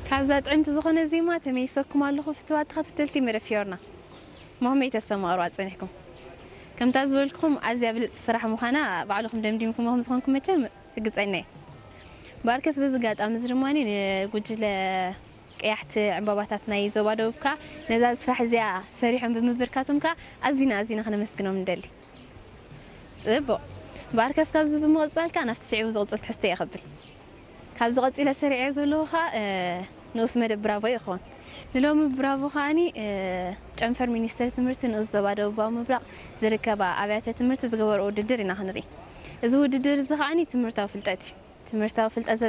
ካብዛ ጥዕምቲ ዝኾነ ዜማ ተመይሰኩም ኣለኹ ፍትዋት ተኸታተልቲ መደብ ፊዮርና። መኸመይ ተሰማቕርዋ ጸኒሕኩም? ከምታ ዝበልኩኹም ኣዝያ ብልጽቲ ስራሕ ምዃና ባዕልኹም ደምዲምኩም ከም ዝኾንኩም መቸም ርግጸኛ እየ። ባርከስ በዚ ኣጋጣሚ እዚ ድማ ንጉጅለ ቀያሕቲ ዕምባባታት ናይ ዞባ ደቡብ ከኣ ነዛ ስራሕ እዚኣ ሰሪሖም ብምብርካቶም ከኣ ኣዚና ኣዚና ክነመስግኖም ንደሊ። ጽቡቕ። ባርከስ ካብዚ ብምቕጻል ከኣ ናብቲ ስዒቡ ዝቕጽል ትሕዝቶ እየ ከብል። ካብዚ ቀጺለ ሰሪዐ ዘለኹ ከኣ ንኡስ መደብ ብራቮ ይኸውን። ንሎሚ ብራቮ ከኣኒ ጨንፈር ሚኒስተር ትምህርቲ ንኡስ ዞባ ደቡባዊ ምብራቕ ዝርከባ ኣብያተ ትምህርቲ ዝገበርኦ ውድድር ኢና ክንርኢ። እዚ ውድድር እዚ ከኣኒ ትምህርታዊ ፍልጠት እዩ። ትምህርታዊ ፍልጠት